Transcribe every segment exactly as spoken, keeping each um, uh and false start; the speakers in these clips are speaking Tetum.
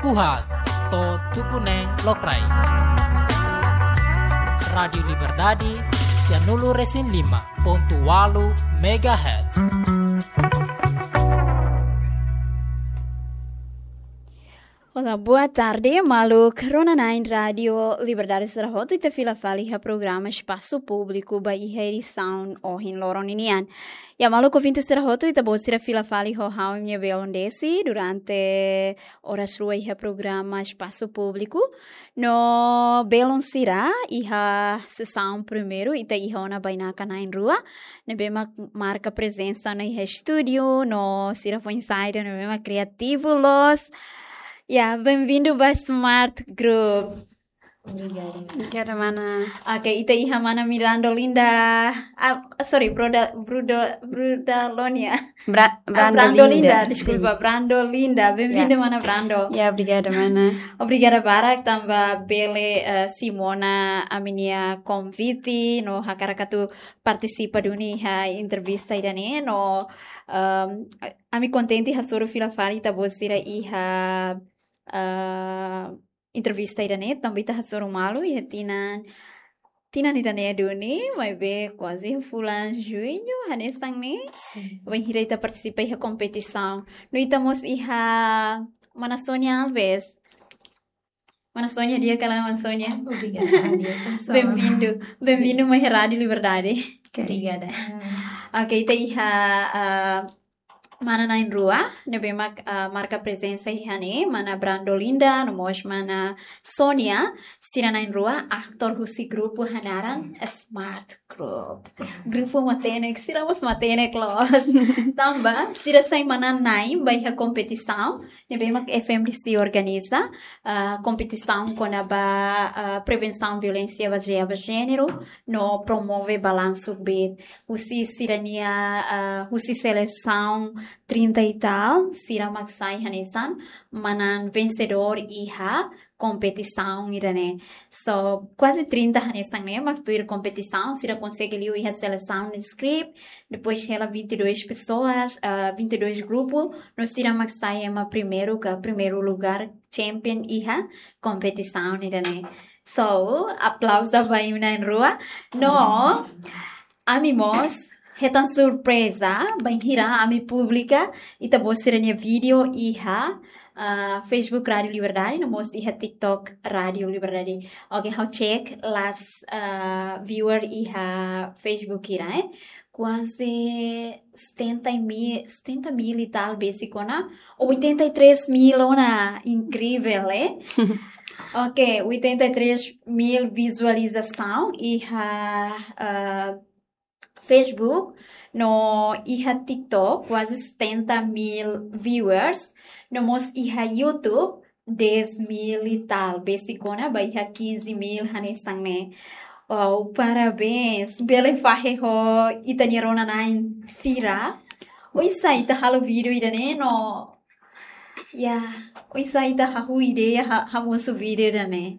Kuhat, to'o tuku neen lokraik. Rádiu Liberdade, sianulu resin lima pontu ualu megahertz. Olá, boa tarde, maluk rona-na'in Rádiu Liberdade sira hotu, ita fila fali iha programa Espasu Públiku ba iha edisaun ohin loron ninian. Ya, maluk ouvinte sira hotu, ita-boot sira fila fali ho ha'u, imi-nia belun Desi, durante oras rua iha programa Espasu Públiku. No belun sira, iha sesaun primeiru, ita iha ona bainaka na'in rua, ne'ebé mak marka prezensa ona iha estúdiu, no sira foin-sa'e ida ne'ebé mak kriativu loos. Ya, benvindu ba Smart Group. Obrigada. Obrigada, mana. Oke, ita iha mana Miranda Linda. Ah, sorry, Broda, Broda, Broda Lonia. Bra-, Ah, Brando Brando Linda, Linda, deskulpa, sin. Brando Linda. Benvinda, Ya. Mana Brando. Ya, obrigada, mana. Obrigada barak tanba bele, eh, simu ona ami-nia konvite, no hakarak atu partisipa duni iha entrevista ida-ne'e, no, ehm, ami kontente hasoru fila fali ita-boot sira iha, eh, entrevista ida-ne'e, tanba ita hasoru malu iha tinan, tinan ida-ne'e duni, maibé kuaze fulan Juñu, hanesan ne'e. Sin. Bainhira ita partisipa iha kompetisaun. No ita mós iha mana Sonia Alves. Mana Sonia, di'ak ka lae, mana Sonia? Obrigada, di'ak, pessoal. Benvindu, benvindu mai Rádiu Liberdade. Oke. Obrigada. Hmm. Oke, ita iha, ah, mana na'in rua, ne'ebé mak, ah, marka prezensa iha ne'e, mana Brando Linda, no mós mana Sonia, sira na'in rua, aktor husi grupu hanaran Smart Group. Grupu matenek, sira mós matenek loos. Tanba, sira sai manán-na'in ba iha kompetisaun, ne'ebé mak F M D C organiza, ah, kompetisaun kona-ba, ah, prevensaun violénsia bazeia ba jéneru, no promove balansu kbiit. Husi sira-nia, ah, husi selesaun trinta e tal, sira mak sai hanesan manán vensedór iha kompetisaun ida-ne'e. So, kuaze trinta hanesan ne'e mak tuir kompetisaun, sira konsege liu iha selesaun de script, depois hela vinte e dois pessoas, ah, vinte e dois grupu, no sira mak sai ema primeiru ka primeiru lugar, champion iha kompetisaun ida-ne'e. So, aplauzu ba imi na'in rua. No, ami mós hetan surpreza, bainhira ami publika ita-boot sira-nia vídeo iha, ah, Facebook Rádiu Liberdade, no mós iha TikTok Rádiu Liberdade. Oke, ha'u cek last, ah, viewer iha Facebook hira, eh. Kuaze setenta mil, setenta mil e tal besik ona, oitenta e três mil ona, incrível, eh? Oke, oitenta e três mil visualizasaun iha, ah, Facebook, no iha TikTok, kuaze setenta mil viewers, no mós iha YouTube, dez mil e tal, besik ona ba iha quinze mil hanesan ne'e. Wow, parabéns. Bele fahe ho ita-nia rona-na'in sira. Oinsá ita halo vídeo ida-ne'e no, ya, oinsá ita hahú ideia ha-, hamosu vídeo ida-ne'e.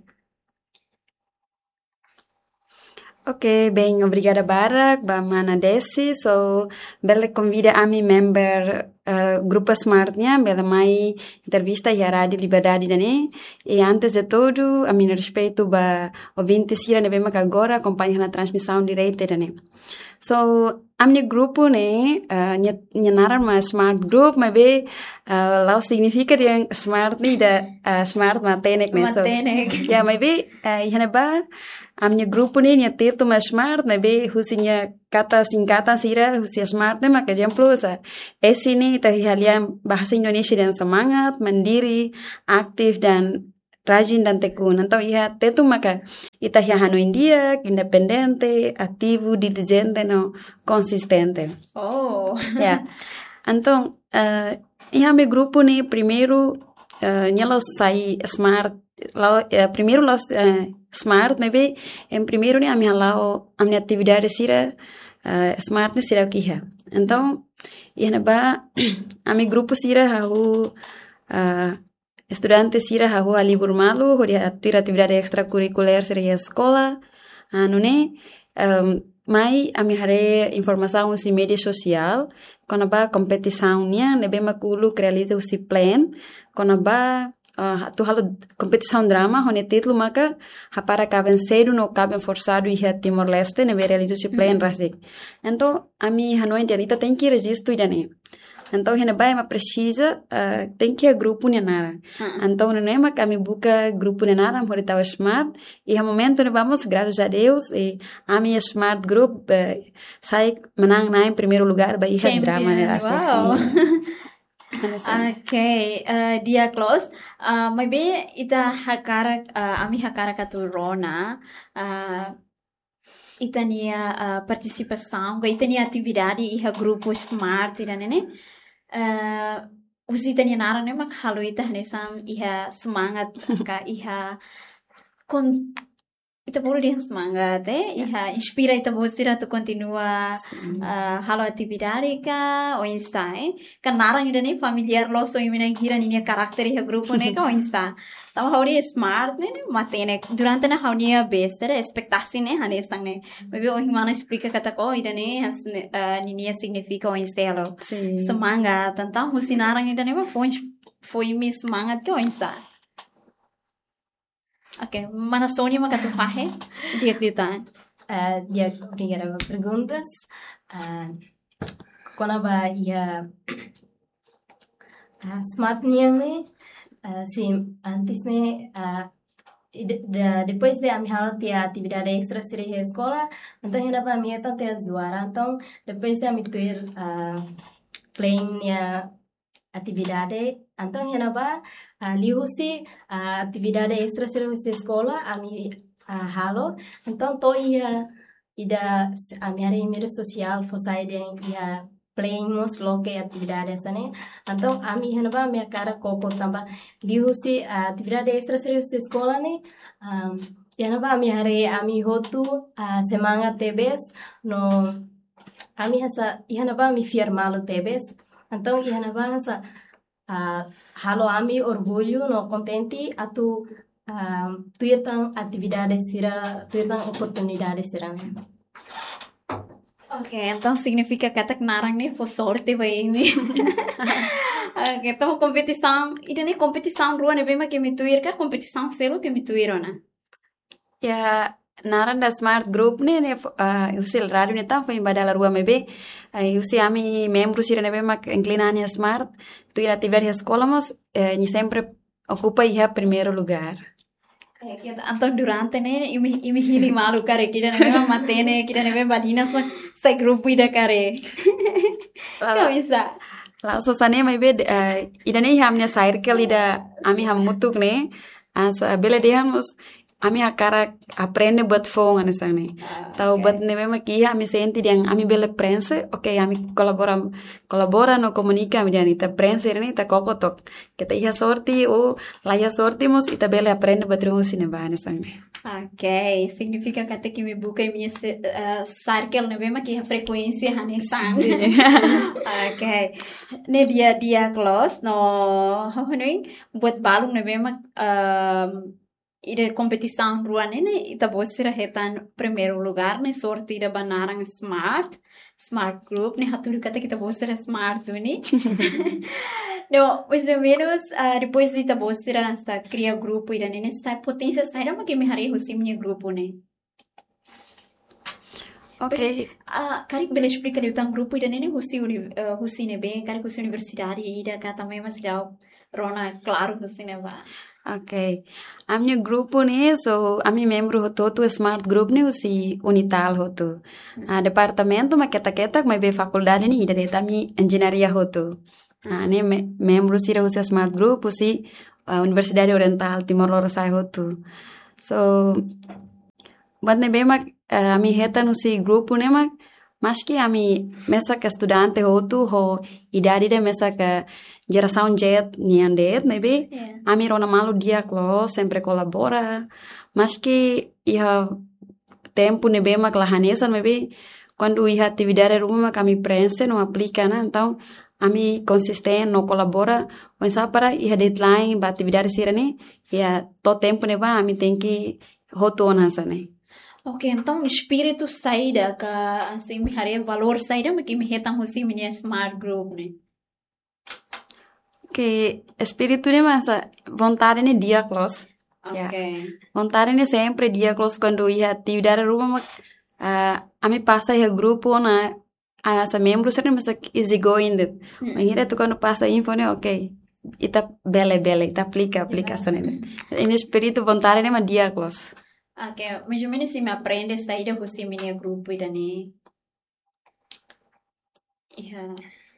Oke, bem, obrigada barak ba mana Desi. So, bele konvida ami member, eh, grupu Smart nian, bele mai entrevista iha Rádiu Liberdade ida-ne'e. E antes de tudo, ami-nia respeitu ba ouvinte sira ne'ebé mak agora akompaña hela transmisaun direta ida-ne'e. So, ami-nia grupu ne'e, eh, nia, nia naran mak Smart Group, maibé, eh, la'ós signifika dehan Smart ne'e ida, eh, Smart matenek ne'e, so. Matenek. Ya, maibé, eh, iha ne'ebá, ami-nia grupu ne'e, nia títulu mak Smart, maibé husi nia kata singkatan sira, husi Smart ne'e mak ezemplu, sa. S ne'e ita iha lian bahasa Indonesia dehan semangat, mandiri, aktif, dan rajin dan tekun. Entaun iha Tetun maka ita iha hanoin di'ak, independente, ativu, diligente no konsistente. Oh. Ya. Entaun, eh, iha ami grupu ne'e primeiru, eh, nia la'ós sai Smart, la'ós, eh, primeiru la'ós, eh, Smart, maibé iha primeiru ne'e ami hala'o ami-nia atividade sira, eh, Smart ne'e sira ke iha. Entaun, iha ne'ebá ami grupu sira hahú, eh, estudante sira hahú halibur malu, hodi atu tuir atividade estrakurrikulár sira iha eskola, ah, nune'e, em, mai ami haree informasaun husi média sosiál, kona-ba kompetisaun nian, ne'ebé mak uluk realiza husi plan, kona-ba ah, atu halo kompetisaun drama, ho nia títulu maka Hapara Kaben Sedu no Kaben Forsadu iha Timor-Leste, ne'ebé realiza husi plean rasik. Entaun, ami hanoin dehan ita tenke rejistu ida-ne'e. Entaun, iha ne'ebá ema presiza, ah, tenke iha grupu nia naran. Entaun, nune'e mak ami buka grupu nia naran, hodi tau Smart. Iha momentu ne'ebá mós, graças a Deus, ami Smart Group, eh, sai manán-na'in primeiru lugár ba iha drama ne'e rasik. Wow. Oke, eh, di'ak loos. Ah, maibé ita hakarak, ah, ami hakarak atu rona, ah, ita-nia, ah, partisipasaun, ka ita-nia atividade iha grupu Smart ida-ne'e ne'e. Eh, husi ita-nia naran ne'e mak halo ita hanesan iha semangat, ka iha kon-, ita bolu dehan semangat, eh? Iha inspira ita-boot sira atu kontinua, ah, halo atividade ka oinsá, eh? Ka naran ida-ne'e familiár loos ho imi na'in hira ninia karakter iha grupu ne'e ka oinsá. Tanba ha'u-nia Smart ne'e, ne'e matenek. Durante ne'e ha'u-nia besta, espetasi ne'e, hanesan ne'e. Maibé ohin mana esplika katak, oh, ida-ne'e, has-, ne'e, ah, ninia signifika oinsá loos. Semangat, entaun husi naran ida-ne'e mak fó, fó imi semangat ka oinsá. Oke, mana Sónia mak atu fahe, di'ak liután. Ah, di'ak, obrigada ba perguntas. Ah, kona-ba iha, ah, Smart nian ne'e, ah, sin, antes ne'e, ah, i de-, da-, depois de ami halo tiha atividade extra sira iha eskola, entaun iha ne'ebá ami hetan tiha zuara, entaun depois de ami tuir, ah, plean nia atividade. Entaun, iha ne'ebá, ah, liuhusi, ah, atividade extra sira husi eskola, ami, ah, halo. Entaun, to'o iha ida s-, ami haree media sosiál, fó sai dehan iha plean mós loke atividade hanesan ne'e. Entaun, ami iha ne'ebá, ami hakarak koko tanba liuhusi, ah, atividade extra sira husi eskola ne'e, ah, iha ne'ebá, ami haree ami hotu, ah, semangat tebes, no ami hanesan, iha ne'ebá ami fiar malu tebes. Entaun, iha ne'ebá hanesan, ah, halo ami orgullu no kontente atu, ah, tuir tan atividade sira, tuir tan oportunidade sira-ne'e. Oke, entaun signifika katak naran ne'e fó sorte ba imi. Oke, entaun kompetisaun, ida-ne'e kompetisaun rua ne'ebé mak imi tuir ka kompetisaun seluk imi tuir ona? Ya, naran da Smart Group ne'e, ne'e fo-, ah, husi rádiu ne'e tan foin ba dala rua maibé. Ah, husi ami membru sira ne'ebé mak inklina an iha Smart, tuir atividade eskola mós, eh, nia sempre okupa iha primeiru lugár. Eh, entaun durante ne'e, imi, imi hili malu karik ida ne'ebé mak matenek, ida ne'ebé mak badinas mak sai grupu ida karik. La'ós, ka oinsá? La'ós hanesan ne'e maibé, eh, ida-ne'e iha ami-nia circle ida ami hamutuk ne'e. Hanesan bele dehan mós ami hakarak aprende buat foun hanesan ne'e. Ah, tau oke. Buat ne'ebé mak iha ami sente dehan ami bele prenxe, oke, ami kolabora, kolabora no komunika ami dehan ita prenxe ne'e ita koko took. Keta iha sorte ou la iha sorte mós ita bele aprende buat ruma husi ne'ebá hanesan ne'e. Oke, signifika katak imi buka imi-nia se-, eh, circle ne'ebé mak iha frekuénsia hanesan. Sin. Oke. Ne'e di'ak, di'ak loos no, ha'u hanoin buat balun ne'ebé mak, ehm, ida kompetisaun rua ne'e, ne'e ita-boot sira hetan primeiru lugár ne'e, sorte ida ba naran Smart, Smart Group ne'e, hatudu katak ita-boot sira smart duni. No, mais ou menos, ah, depois de ita-boot sira hanesan kria grupu ida-ne'e, ne'e sai poténsia saida mak imi haree husi imi-nia grupu ne'e? Oke. Depois, ah, karik bele esplika liután grupu ida-ne'e ne'e husi uni-, eh, husi ne'ebé, karik husi universidade ida ka tanba ema seidauk rona klaru husi ne'ebá. Oke. Ami-nia grupu ne'e, so, ami membru hotu-hotu Smart Group ne'e husi Unital hotu. Hmm. Ah, departamentu mak ketak-ketak, maibé fakuldade ne'e ida de'it, ami enjeñaria hotu. Ah, ne'e me-, membru sira husi Smart Group, husi, ah, Universidade Orientál Timor Lorosa'e hotu. So, buat ne'ebé mak, eh, ami hetan husi grupu ne'e mak, maski ami mesak estudante hotu ho idade ida mesak jerasaun Z nian de'it, maibé, ya, ami rona malu di'ak loos, sempre kolabora. Maski iha tempu ne'ebé mak la hanesan, maibé kuandu iha atividade ruma mak ami prenxe no aplika ona, entaun ami konsistente no kolabora, oinsá para iha deadline ba atividade sira-ne'e, iha to'o tempu ne'ebá ami tenke hotu ona hanesan ne'e. Oke, entaun espíritu saida ka, hanesan imi haree valór saida mak imi hetan husi imi-nia Smart Group ne'e? Ke espíritu ne'e mak hanesan vontade ne'e di'ak loos. Ya. Oke. Vontade ne'e sempre di'ak loos kuandu iha atividade ruma mak, ah, ami pasa iha grupu ona, ah, hanesan membru sira ne'e hanesan easy going de'it. Mm-mm. Bainhira atu kuandu pasa info ne'e, oke. Ita bele, bele, ita aplika, aplika. Ya. Hanesan ne'e. Imi-nia espíritu vontade ne'e mak di'ak loos. Oke, mais ou menus imi aprende saida husi imi-nia grupu ida-ne'e? Iha.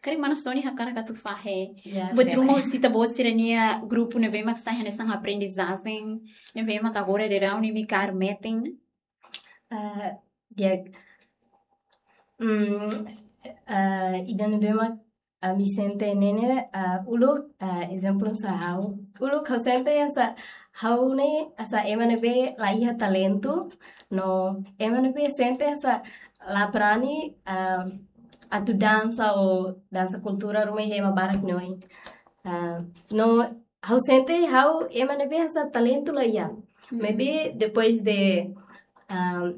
Karik mana Sony hakarak atu fahe. Ya, buat ruma husi ita-boot sira-nia grupu ne'ebé mak sai hanesan aprendizajen, ne'ebé mak agora daudaun ne'e imi kaer metin. Ah, di'ak. Hmm, ah, ida ne'ebé mak ami sente ne'e ne'e, ah, uluk, ah, ezemplu hanesan ha'u. Uluk ha'u sente hanesan ha'u ne'e hanesan ema ne'ebé la iha talentu, no ema ne'ebé sente hanesan la brani, ah, atu dansa ou dansa kultura ruma iha ema barak nia oin. Ah, no ha'u sente ha'u ema ne'ebé hanesan talentu la iha. Hmm. Maibé depois de, ah,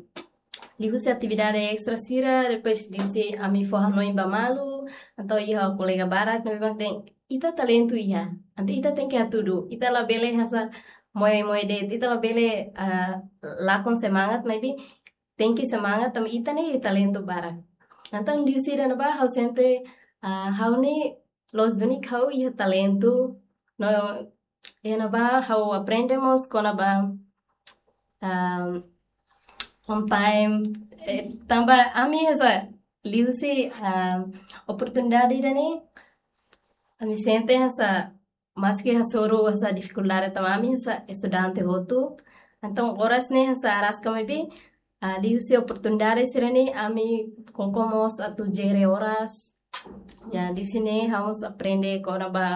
liuhusi atividade extra sira, depois liuhusi ami fó hanoin ba malu, entaun iha kolega barak ne'ebé mak dehan ita talentu iha. Entaun ita tenke hatudu. Ita labele hanesan moe-moe de'it, ita labele, ah, lakon semangat, maibé tenke semangat tanba ita ne'e talentu barak. Entaun liuhusi ida-ne'ebá ha'u sente, ah, ha'u ne'e loos duni ha'u iha talentu, no iha ne'ebá ha'u aprende mós kona-ba, ah, on time, eh, tanba ami hanesan liuhusi, ah, oportunidade ida-ne'e, ami sente hanesan maski hasoru hanesan difikuldade tanba ami hanesan estudante hotu. Entaun oras ne'e hanesan araska maibé, ah, liuhusi oportunidade sira-ne'e ami koko mós atu jere oras. Ya, liuhusi ne'e ha'u mós aprende kona-ba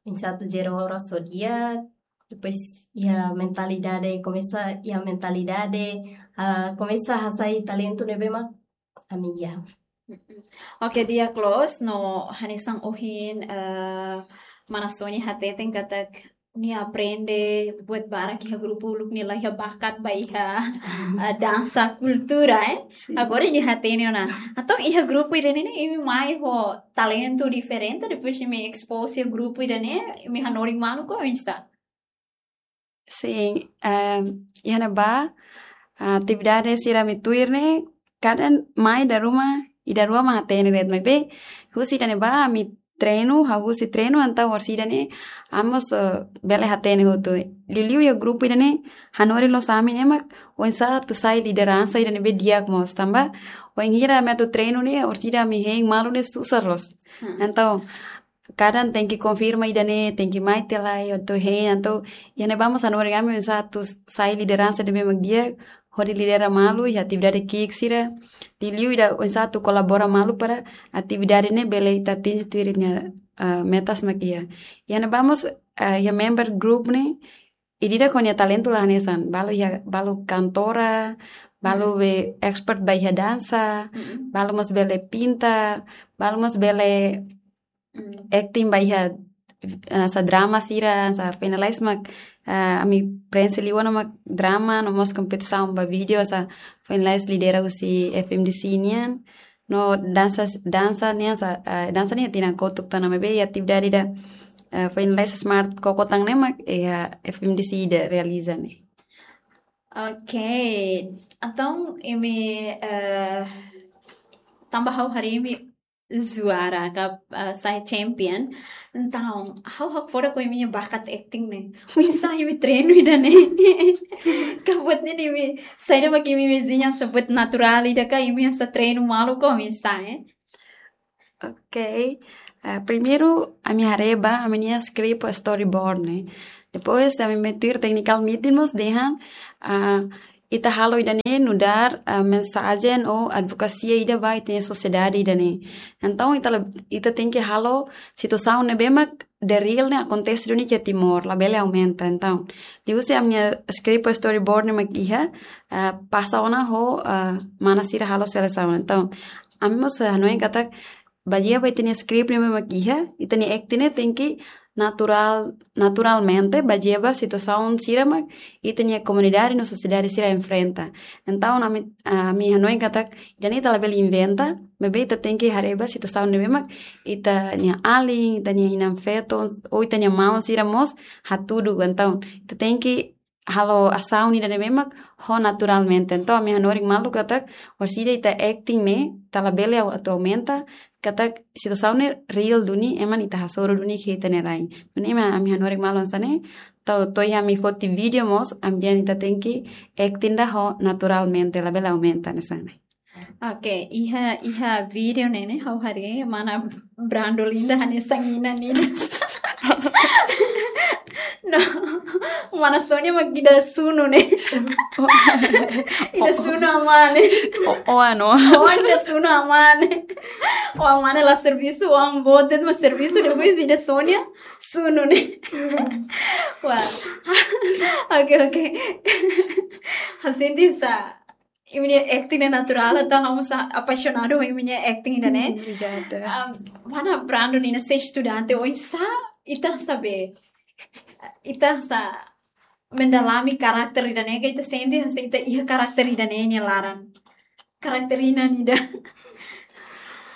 oinsá atu jere oras ho di'ak. Depois iha mentalidade, komesa iha mentalidade, ah, komesa hasai talentu ne'ebé mak ami iha. Oke, di'ak loos, no hanesan ohin, eh, mana Sony hateten katak nia aprende buat barak iha grupu uluk nia la iha bakat ba iha, eh, dansa kultura, eh. Sin. Agora nia hatene ona. Entaun iha grupu ida-ne'e ne'e imi mai ho talentu diferente, depois imi expose iha grupu ida-ne'e, imi hanorin malu ka oinsá? Sin, em, iha ne'ebá, ah, atividade sira ami tuir ne'e, kada mai ida ruma, ida rua mak hatene de'it maibé. Husi ida-ne'ebá, ami treinu, hahú husi treinu, entaun orsida ne'e, ami mós, eh, bele hatene hotu. Liuliu iha grupu ida-ne'e, hanorin loos ami ne'e mak, oinsá atu sai lideransa ida ne'ebé di'ak mós, tanba, wainhira ami atu treinu ne'e, orsida ami hein malu ne'e susar loos. Hmm. Entaun, kadang tenke konfirma ida-ne'e, tenke mai tiha lai, atu hein, entaun, iha ne'ebá mós hanorin ami oinsá atu sai lideransa ida ne'ebé mak di'ak, hodi lidera malu, iha atividade ki'ik sira, liuliu ida oinsá atu kolabora malu para atividade ne'e bele ita atinje tuir ita-nia, ah, metas mak iha. Iha ne'ebá mós, ah, iha member group ne'e, ida-idak ho nia talentu la hanesan, balu iha, balu kantora, balu, hmm, be expert ba iha dansa, mm-mm, balu mós bele pinta, balu mós bele, mm, acting ba iha, eh, hanesan drama sira, hanesan finalize mak, eh, ami prenxe liu ona mak drama, no mós kompetisaun ba vídeo, hanesan finalize lidera husi F M D C nian. No dansa, dansa nian hanesan, eh, dansa nian tinan kotuk tan, maibé iha atividade ida, eh, finalize smart koko tan ne'e mak, eh, F M D C ida realiza ne'e. Oke, entaun imi, eh, tanba ha'u haree imi juara ka, eh, sai champion. Entaun, ha'u hakfodak ho imi-nia bakat acting ne'e. Oinsá imi treinu ida-ne'e? Ka buat ne'e imi, saida mak imi, imi dezeña hanesan buat naturál ida ka imi hanesan treinu malu ka oinsá, eh? Oke. Eh, primeiru, ami haree ba, ami-nia script storyboard ne'e. Depois, ami mai tuir technical meeting mós dehan, ah, ita halo ida-ne'e nu'udar, ah, mensajen ou advokasia ida ba ita-nia sosiedade ida-ne'e. Entaun, ita la, ita tenke halo situasaun ne'ebé mak the real ne'e akontese duni iha Timor, labele aumenta. Entaun, liuhusi ami-nia script storyboard ne'e mak iha, ah, pasa ona ho, ah, mana sira halo selesaun. Entaun, ami mós, ah, hanoin katak, bazeia ba ita-nia script ne'ebé mak iha, ita-nia acting ne'e tenke naturál, naturalmente, bazeia ba situasaun sira mak ita-nia komunidade no sosiedade sira enfrenta. Entaun, ami, ami hanoin katak, ita-nia ita labele inventa, maibé ita tenke haree ba situasaun ne'ebé mak ita-nia alin, ita-nia inan-feton, ou ita-nia maun sira mós hatudu. Entaun, ita tenke halo asaun ida ne'ebé mak ho naturalmente. Entaun, ami hanorin malu katak, orsida ita acting ne'e, ita labele au-, atu aumenta, katak situasaun ne'e real duni, ema ita hasoru duni iha ita-nia rain. Duni ema ami hanorin malu hanesan ne'e, entaun, to'o iha ami foti vídeo mós, ami dehan ita tenke acting ida ho naturalmente, labele aumenta hanesan ne'e. Oke, iha, iha vídeo ne'e, ne'e, ha'u haree, mana Brando Linda hanesan inan ne'e. No, mana Sonia mak ida sunu ne'e. Ida sunu amá ne'e. O, o ano. O ida sunu amá ne'e. O amá ne'e la servisu, o amá botet mak servisu, depois ida Sonia, sunu ne'e. Wah. Oke, oke. Ha'u sente hanesan imi-nia acting ne'e naturál, entaun ha'u mós apaixonadu ho imi-nia acting ida ne'e. Obrigada. Um, mana Brando Linda, se estudante, oinsá ita sabe, ita sa mendalami karakter ida ne'e, ka ita sente, se ita iha karakter ida ne'e nia laran. Karakter inan ida.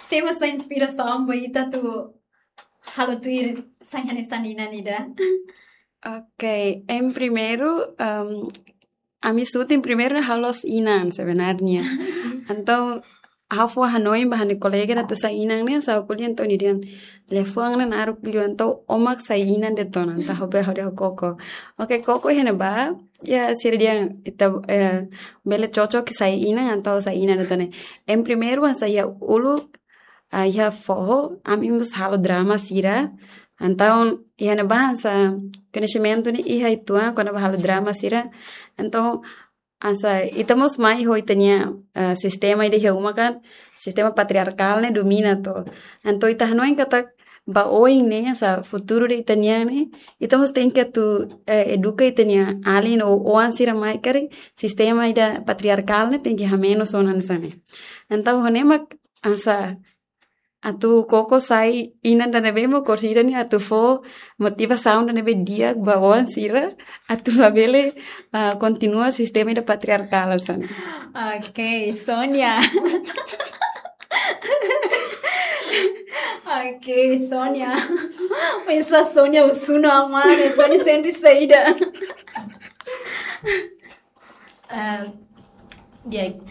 Sé mak sai inspirasaun ba ita atu halo tuir sai hanesan inan ida. Oke, em primeiru, em, ami shooting primeiru ne'e halo inan sebenarnya. Entaun, ha'u fó hanoin ba ha'u-nia kolega atu sai inan ne'e, sa ko'alia entaun nia dehan, liafuan ne'e naruk liu, entaun ó mak sai inan de'it ona, entaun ha'u bá hodi ho Koko. Oke, Koko iha ne'ebá, ya, sira dehan, ita, eh, bele cocok sai inan, entaun sai inan de'it ona. Em primeiru, hanesan iha uluk, ah, iha foho, ami mós halo drama sira. Entaun, iha ne'ebá hanesan koñesimentu ne'e iha uitoan, kona-ba halo drama sira. Entaun, hanesan, ita mós mai ho ita-nia, eh, sistema ida iha uma kan, sistema patriarkál ne'e domina to. Entaun, ita hanoin katak ba oin ne'e, hanesan, futuru ida ita-nian ne'e, ita mós tenke atu, eh, eduka ita-nia alin ou oan sira mai karik, sistema ida patriarkál ne'e tenke hamenus ona hanesan ne'e. Entaun, ho ne'e mak, hanesan, atu Koko sai inan ida ne'ebé mak orsida ne'e atu fó motivasaun ida ne'ebé di'ak ba oan sira atu labele, ah, kontinua sistema ida patriarkál hanesan ne'e. Oke, Sonia. Oke, Sonia. Pensa Sonia, o sunu amá ne'e, Sonia sente saida? Ah, di'ak.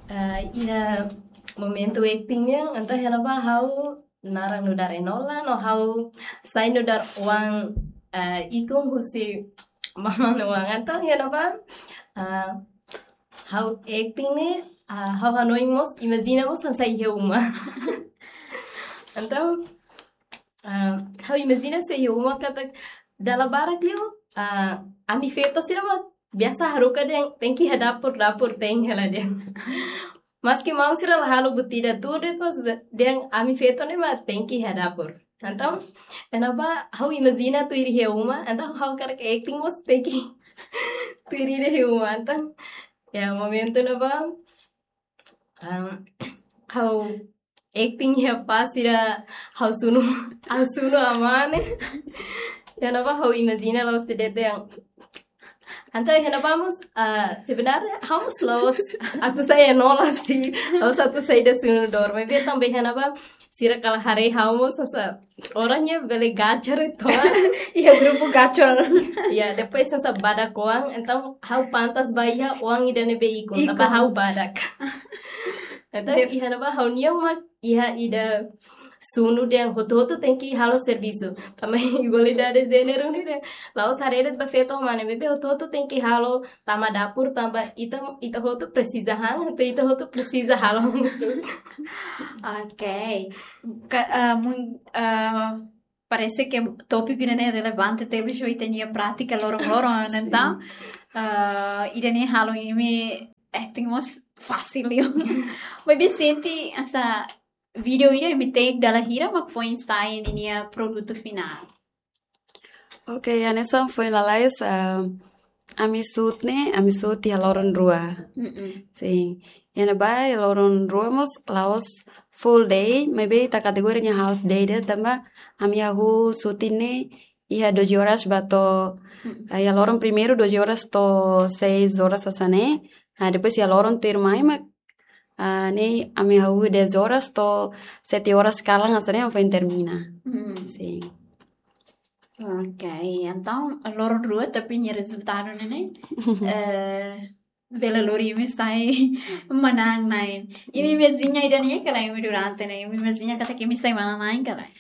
Ah, iha momentu acting nian, entaun iha ne'ebá ha'u naran nu'udar Enola, no ha'u sai nu'udar oan, ah, ikun husi maman oan. Entaun iha ne'ebá, ah, ha'u acting ne'e, ah, ha'u hanoin mós, imajina mós hanesan iha uma. Entaun, ah, ha'u imajina hanesan iha uma katak dala barak liu, ah, ami feto sira mak biasa haruka dehan tenke iha dapur, dapur tenke hela dehan. Maski maun sira la halo buat ida tuir de'it, mas dehan ami feto ne'e mak tenke iha dapur. Entaun, iha ne'ebá ha'u imajina tuir iha uma, entaun ha'u hakarak acting mós tenke tuir iha uma. Entaun, ya, momentu ne'ebá, ah, ha'u acting iha pás ida ha'u sunu, ha'u sunu amá ne'e. Iha ne'ebá ha'u imajina la'ós de'it dehan. Entaun iha ne'ebá mós, ah, sebenarnya ha'u mós la'ós atu sai Enola sih. Ha'u mós atu sai ida sunu dór. Maibé tanba iha ne'ebá sira kala haree ha'u mós hanesan orang ne'ebé bele gacor itu. Iha grupu gacor. Ya, depois hanesan badak oan, entaun ha'u pantas ba iha oan ida ne'ebé ikun, ikun. Tanba ha'u badak. Entaun, dep- iha ne'ebá ha'u-nian mak iha ida sunu dehan hotu-hotu tenke halo servisu. Tanba igualdade de jéneru ne'e dehan la'ós haree de'it ba feto ho mane, maibé hotu-hotu tenke halo tama dapur, tanba ita, ita hotu presiza han, ita, ita hotu presiza halo. Oke. Ka-, eh, mun-, eh, parese ke tópiku ida ne'e relevante tebes ho ita-nia prátika loron-loron, sin, entaun, eh, ida ne'e halo imi acting mós fasil liu. Maibé sente hanesan vídeo ida imi take dala hira mak foin sai ninia produtu finál? Oke, hanesan foin lalais, ah, Ami shoot ne'e, ami shoot iha loron rua. Mm-mm. Sin. Iha ne'ebá iha loron rua mós la'ós full day, maibé ita kategoria nia half day de'it tanba ami hahú shooting ne'e iha doze horas ba to'o, mm, ah, iha loron primeiru doze horas to'o seis horas hanesan ne'e. Ah, depois iha loron tuirmai mak, ah, ne'e ami hahú dez horas to'o sete horas kalan hanesan ne'e ami foin termina. Mm. Sin. Ok, entaun loron rua tapi nia rezultadu ne'e, ne'e, eh, bele lori imi sai manán-na'in. Imi imajina ida-ne'e ka lae, imi durante ne'e, imi imajina katak imi sai manán-na'in ka lae?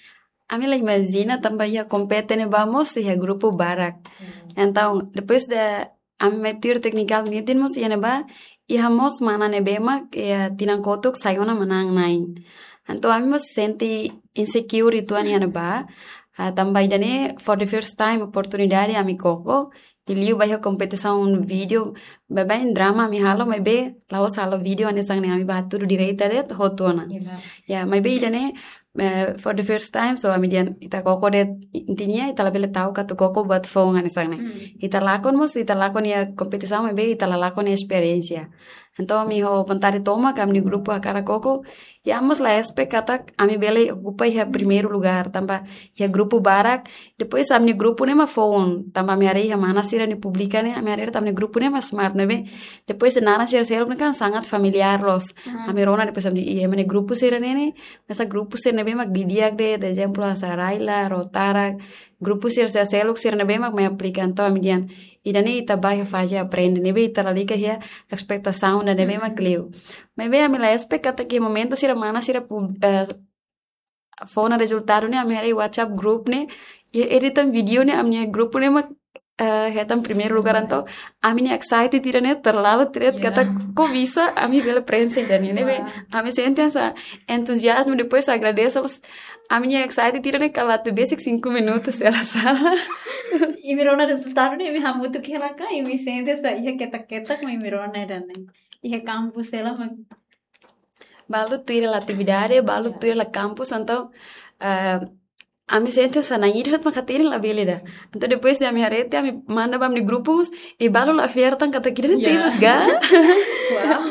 Ami la imajina tanba iha kompete ne'ebá mós iha grupu barak. Hmm. Entaun, depois de ami mai tuir technical meeting mós iha ne'ebá, iha mós mana ne'ebé mak iha tinan kotuk sai ona manán-na'in. Entaun ami mós sente insecure uitoan iha ne'ebá. Ah, tanba ida-ne'e for the first time oportunidade ami koko. I liu ba iha kompetisaun vídeo, baibain drama ami halo, maibé la'ós halo vídeo hanesan ne'e, ami bá hatudu direta de'it hotu ona. Iya. Ya, maibé ida-ne'e, eh, for the first time, so ami dehan ita koko de'it, intinya ita labele ta'uk atu koko buat foun hanesan ne'e. Hmm. Ita lakon mós, ita lakon iha kompetisaun, maibé ita la lakon iha esperiénsia. Entaun ami ho vontade tomak, ami-nia grupu hakarak koko, i ami mós la espera katak ami bele okupa iha primeiru lugar, tanba iha grupu barak, depois ami-nia grupu ne'e mak foun, tanba ami haree iha mana sira-nia publika ne'e, ami haree de'it ami-nia grupu ne'e mak smart ne'ebé. Depois naran sira seluk ne'e kan sangat familiár loos. Hmm. Ami rona depois ami, i ami-nia grupu sira-ne'e ne'e, hanesan grupu sira ne'ebé mak di'ak de'it, ezemplu hanesan Raila, Rotaract, grupu sira, sira seluk sira ne'ebé mak mai aplika, entaun ami dehan ida-ne'e ita bá iha faze aprende, ne'ebé ita lalika iha espetasaun ida ne'ebé mak liu. Maibé ami la espera katak iha momentu sira mana sira pu-, eh, fó ona rezultadu ne'e, ami haree WhatsApp group ne'e, iha editan vídeo ne'e, ami-nia grupu ne'e mak, eh, hetan primeiru lugar, entaun ami-nia excited ida-ne'e terlalu, tidak, katak kok bisa ami bele prenxe ida-ne'e, ne'ebé. Wow. Ami sente hanesan entuziazmu, depois agradese, ami-nia excited ida-ne'e kala atu besik cinco minutos, hela sala. Imi rona rezultadu ne'e, imi hamutuk hela ka, imi sente hanesan iha ketak-ketak, mak imi rona ida-ne'e. Iha kampus hela, mak balu tuir hela atividade, balu tuir hela kampus, entaun, eh, ami sente hanesan na'in ida de'it mak hatene labele ida. Entaun depois de ami haree tiha, ami manda ba ami-nia grupu mós, i balu la fiar tan katak ida-ne'e tebes ka. Wow.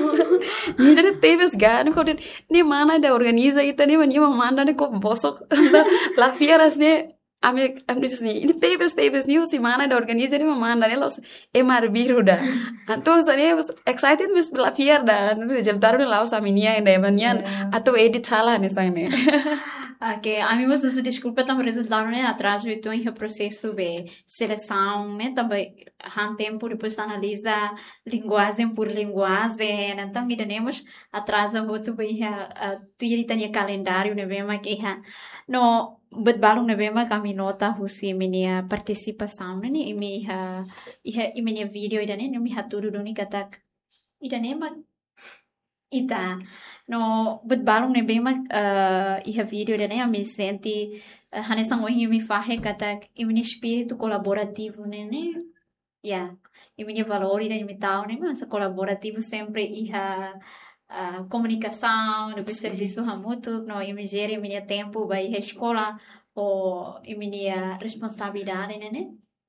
Ida-ne'e tebes ka, ne'e kode ne'e mana ida organiza ita ne'e, nia mak manda ne'e kok bosok. La fiar hanesan ne'e, ami, ami dehan hanesan ne'e, ida-ne'e tebes, tebes, ne'e husi mana ida organiza ne'e mak manda ne'e, la'ós ema arbiru ida. Entaun hanesan ne'e, excited maibé la fiar ida, rezultadu ne'e la'ós ami-nian ida, ema nian, atu edit sala hanesan ne'e. Ok, ami mós husu deskulpa tanba rezultadu ne'e atrazu uitoan iha prosesu ba selesaun ne'e, tanba han tempu, depois analiza linguajen por linguajen, entaun ida-ne'e mós atraza hotu ba iha, ah, tuir ita-nia kalendáriu ne'ebé mak iha. No buat balun ne'ebé mak ami nota husi imi-nia partisipasaun ne'e, imi iha, iha imi-nia vídeo ida-ne'e, imi hatudu duni katak ida-ne'e mak ita. No buat balun ne'ebé mak, eh, iha vídeo ida-ne'e ami sente, eh, hanesan ohin imi fahe katak imi-nia espíritu kolaborativu ne'e, ne'e, ya, imi-nia valór ida imi tau ne'e mak hanesan kolaborativu sempre iha, ah, komunikasaun, depois servisu hamutuk, no imi jere imi-nia tempu ba iha eskola, ho imi-nia responsabilidade ne'e, ne'e,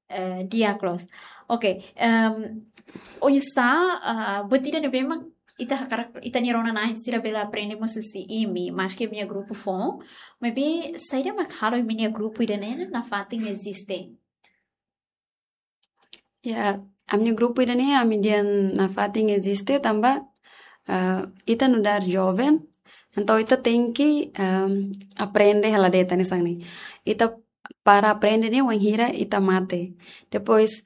eh, di'ak loos. Ok, em, oinsá, ah, buat ida ne'ebé mak ita hakarak, ita-nia rona-na'in sira bele aprende mós husi imi, maske imi-nia grupu foun, maibé saida mak halo imi-nia grupu ida-ne'e nafatin eziste? Ya, ami-nia grupu ida-ne'e, ami dehan nafatin eziste tanba, eh, ita nu'udar joven, entaun ita tenke, em, aprende hela de'it hanesan ne'e. Ita para aprende ne'e wainhira ita mate. Depois,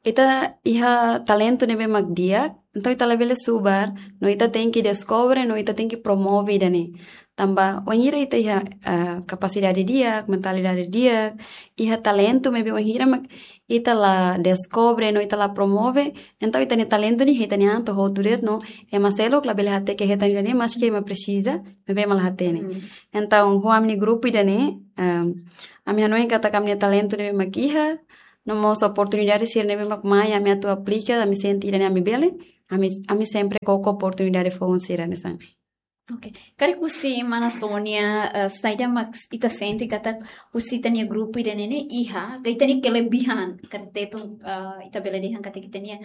ita iha talentu ne'ebé mak di'ak, entaun ita labele subar, no ita tenke deskobre, no ita tenke promove ida-ne'e. Tanba wainhira ita iha, eh, kapasidade di'ak, mentalidade di'ak, iha talentu maibé wainhira mak ita la deskobre, no ita la promove, entaun ita-nia talentu ne'e hetan nia an to'o hotu de'it, no ema seluk labele hateke hetan ida-ne'e, maske ema presiza, maibé ema la hatene. Hmm. Entaun, ho ami-nia grupu ida-ne'e, em, ami hanoin katak ami-nia talentu ne'ebé mak iha, no mós oportunidade sira ne'ebé mak mai, ami atu aplika, ami sente ida-ne'e ami bele, ami, ami sempre koko oportunidade foun sira hanesan ne'e. Karik husi mana Sonia, eh, saida mak ita sente katak husi ita-nia grupu ida-ne'e iha, ka ita-nia kelebihan, karik Tetun, eh, ita bele dehan katak ita-nia